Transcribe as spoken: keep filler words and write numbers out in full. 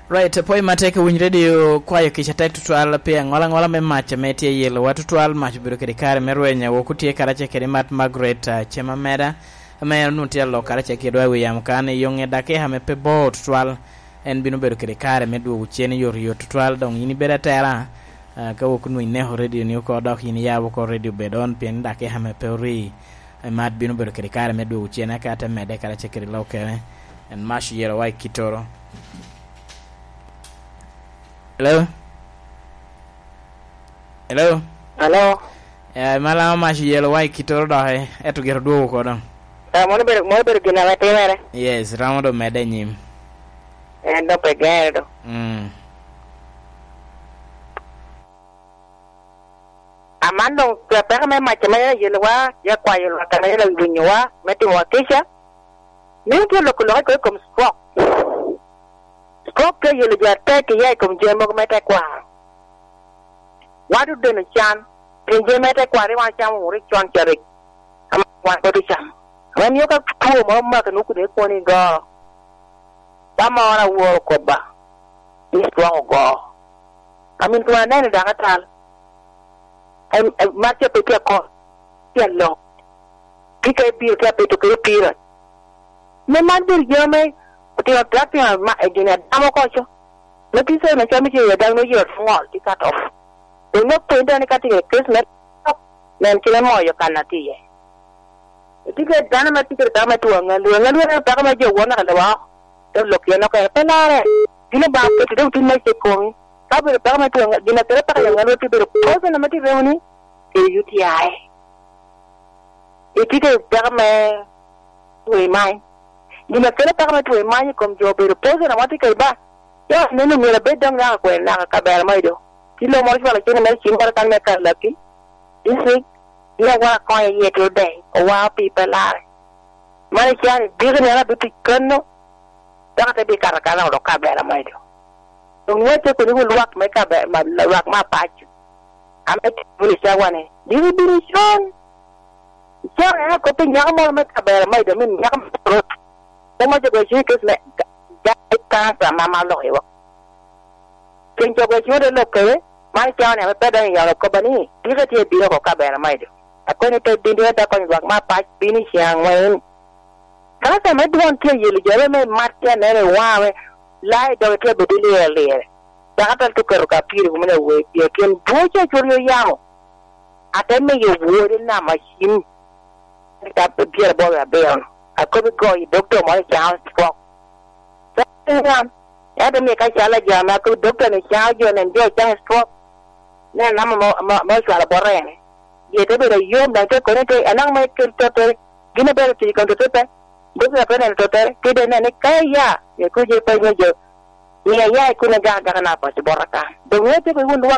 Right, apwoyo matek i Winy Radio, kwayo kica tek tutwal pi aŋola aŋola me mac ame tye i yelowa tutwal. Mac obedo kede kare me rwenya, wok otye karacel kede Mat Margaret, ah, Cem Ameda, ame en onwoŋo tye alok karacel kedwa i wi yamo kan, i yoŋe dakika ame pe bor tutwal, en bino bedo kede kare me dwogo cen i yot yot tutwal. Doŋ yin ibedo atera, ah, ka wok onwoŋo ineko radio ni oko, dok yin iyabo oko radio bed on, pien dakika ame pe ori, eh, Mat bino bedo kede kare me dwogo cen, eka te medde karacel kede lok kene. En mac oyelowa i kittoro. Hello? Hello? Hello? Eh, Malama mac oyelowa i kittoro doki, ento gire odwogo oko doŋ. Eh, mono obedo, mono obedo gin ame timere? Yes, romo doŋ medde i nyim. En doŋ pe gere doŋ. Mm. Aman doŋ peko me mac ame en ayelowa, ya kwayo lwak ame en awinyowa, me timowa kica. Mio tye loko lok i kom stroke. Stroke tye yelo jo atek iya i kom jami mogo me tekwaro. Wan odeno can, pien jami me tekwaro rik wan ocamo wunu rik con ca rik, ame wan pwod ocamo. Ame mio ka two moro omaki nwoŋo kun ikwono igo. Tamma wan aworo kobba, ni stroke ogo. Amin kun aneno dok atal. Em, em, mar ca pe tye akor, tye alok. Tika ibiro tye apeto kede pira. Me man bedo jo me otino trak tino ma, eh, gin adamo koco. Me tye sene cam icel ya dano oyero ŋol tye cut off. Dong me pwony dano ka tye kede case me tok, nen kite moyo kan atye iye. Itye kede dano ame tye kede peko me two aŋalwe. Aŋalwe en peko me jo won naka lewa oko. Te lok yen oko en pe lare. Gin Obaŋa oketo dok tin me cek komi. Ka obedo peko me two aŋalwe, gin a kelo peko i aŋalwe tye bedo poison ame tye remo ni kede U T I. Itye kede peko me two i many. Gin a kelo peko me two i many i kom jo obedo poison ame tye kede ba. Jo neno myero abed dok naka kwene naka kabera mo ido. Tye lo moro cwalo cene mere cim moro kan me Kalaki. District, ni awara konya iye tye odeny, owa opii pe lare. Man ican idiki ni an abino tic kano, dok ate bino kato akana odok kabera majo. Doŋ ŋwece koni wun lwak me kabe-, ma, lwak me apac, ame tye wunu i cawa ni, diki bino icon. Icon en akop i nyako moro me kabera majo, min nyako me rot. Mom ajo goyo cwiny i kes me ga-, ga-, kansa ma, ma oloko iwa. Cen cogo ecwodo lok kede, man cawa ni ame pe donyo i yalo kobba ni, diki tye bino oko kabera majo. Akoni pe bin dwon te konyo lwak me apac bino i cen aŋwen. Kansa me dwon tye yelo jo me mat tye aneno i waŋa me, lai doge tye bedo lire lire. Dok atal tye keto ka pire kuma ni awer tye, pien dwon ca cwod yo yamo. Ate miyo wode namba cim, ka pyeraboro abiro-nu. Akobo i go i dokta moro i Charles Rock. Pe an, ento mio ka calo aja ame akobo dokta ni cao jo nen jo ocako stroke, nen namba ma, ma, ma ocwalo bot en. Ye te bedo ayom, daŋ te koni te, anaŋ ma ekel tottere, gin a bedo tic i kom tottere pe, dokta pe neno tottere, kede nen ni ka iya, ye kuc ye peny me jo, mia iya i kun igak agaka na paco bot aka. Doŋ ŋeo teko i wun lwak,